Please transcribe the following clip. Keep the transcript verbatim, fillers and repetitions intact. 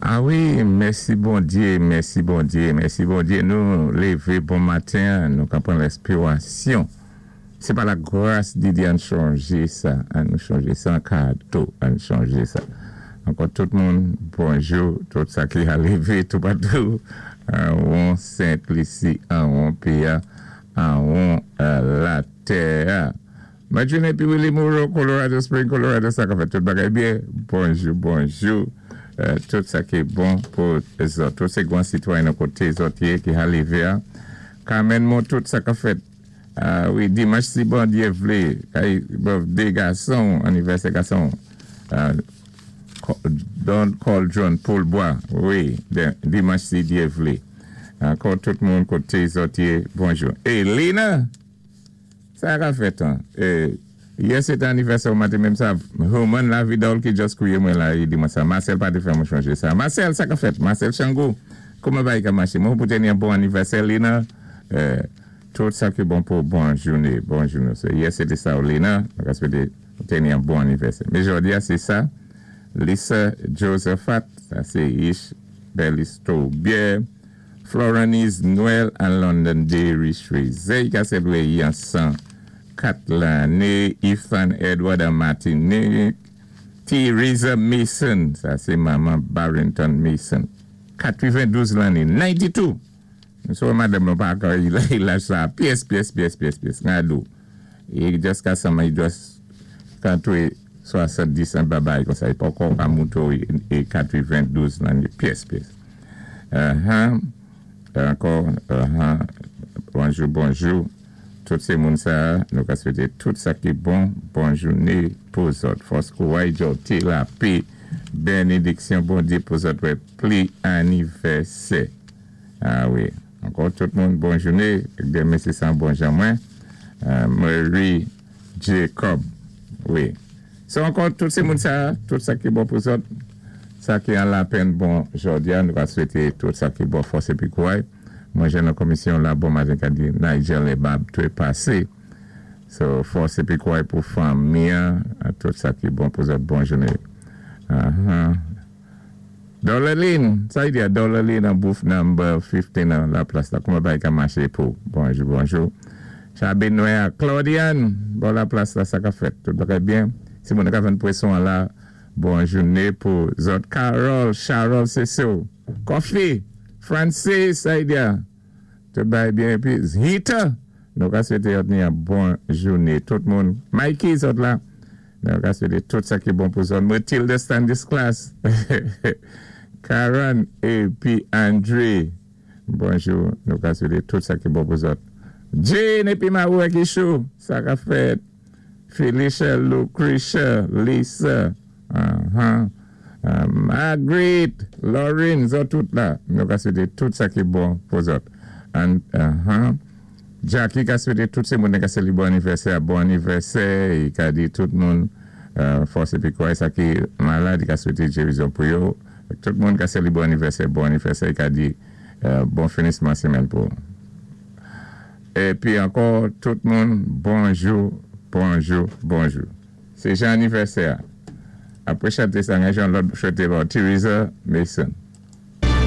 A wi, mèsi Bondyé, mèsi Bondyé, mèsi Bondyé. Nou lévé bon maten, nou ka pran lespirasyon. Sé pa lagras di Dye, ann chanjé sa, ann nou chanjé sa an kado, ann chanjé sa. Ankò tout moun, bonjou, tout sa ki a lévé toupatou, an won Sent Lisi, an won péyi, an won latè. Madjine épi Willy Moreau, Colorado Springs, Colorado, sa ka fèt tout bagay byen. Bonjou, bonjou. Euh, tout sa ki bon pou zòt. Tout sé gwan sitwayen nan koté zòt yé ki a lévé. Carmen Mo, tout sa ka fèt. Ah wi, dimanch si Bondyé vlé, kay birthday gason, anivèsè gason. Uh, Don Cauldron, Paul Bois, wi, dimanch si Dye vlé. Ankò tout moun koté zòt yé, bonjou. É Lina, sa ka fèt an. É, yè sé té anivèsè ou maten menm sa, Roman la vidol ki just kwiye mwen la, i di mwen sa. Marcel pa te fè mwen chonjé sa. Marcel, sa ka fèt. Marcel Chango, kouman bagay ka maché? Mwen pou teni yon bon anivèsè, Lina. Euh, tout sa ki bon pou bon jouné, bon jouné. So, yè sé té sa ou Lina, mwen ka swété teni yon bon anivèsè. Mais jodi a, sé sa, Lisa Josephat, sa sé Ish Belisto Bier, Florence Noël an London Dairy Chouizey, ka sélébré yon san kat lanné, Ethan Edward an Martinique, Theresa Mason, sa sé manman Barrington Mason, katwenn-douz lanné, katwendiznev. So, madanm nou pa ka laj sa, pyès, pyès, pyès, pyès, pyès, ngadou. E just ka sama, i just kantwe swasanndis an babay kon sa, i pa kon ka mouto é katwenn-douz lanné, pyès, pyès. Uh-huh. Ankò, uh-huh. Bonjou, bonjou. Tout sé moun sa, nou ka swété tout sa ki bon, bon jouné pou zòt. Fòs kouray, jòté, lapè, bénédiksyon Bondyé pou zòt wè pli anivèsè. A wi, ankò tout moun bon jouné, demen sé san bon jan mwen. Euh, Marie Jacob, wi. So ankò tout sé moun sa, tout sa ki bon pou zòt, sa ki an lapenn bon jòdi a, nou ka swété tout sa ki bon fòs épi kouray. Mwen jwenn nan komisyon la bon maten ka di Nigel Ebab tou pasé. So fòs épi kouray pou fanmi, tout sa ki bon pou zòt bon jouné. Uh-huh. Dolaline, sa y di a Dolaline an booth number fifteen nan la plas la. Kouman bagay ka maché pou? Bonjou, bonjou. Chabi Noé, Claudiane, bon la plas la sa ka fèt. Tout bagay byen. Si moun ka vann pwason la, bon jouné pou zòt. Carol, Charol, sé so. Coffee, Francis, sa y di a. Tout bagay byen. Épi Zita, nou ka swété yon bon jouné. Tout moun. Mikey, zòt la. Nou ka swété tout sa ki bon pou zòt. Matilda Stanislas. Karen épi André. Bonjou. Nou ka swété tout sa ki bon pou zòt. Jane épi Maroua Kishou. Sa ka fèt. Felicia, Lucretia, Lisa. Uh-huh. Uh, Margaret, Lauren, zòt tout la. Nou ka swété tout sa ki bon pou zòt. And, uh-huh. Jackie ka swété tout sé moun ka sélébré bon anivèsè, bon anivèsè, i ka di tout moun euh, fòs épi kouray sa ki malad, i ka swété gérizon pou yo. Tout moun ka sélébré bon anivèsè, bon anivèsè, i ka di euh, bon finisman sémèn pou. Épi ankò tout moun bonjou, bonjou, bonjou. Sé jan anivèsè. Apwé chanté sa, jan lòt chanté bon, Theresa Mason.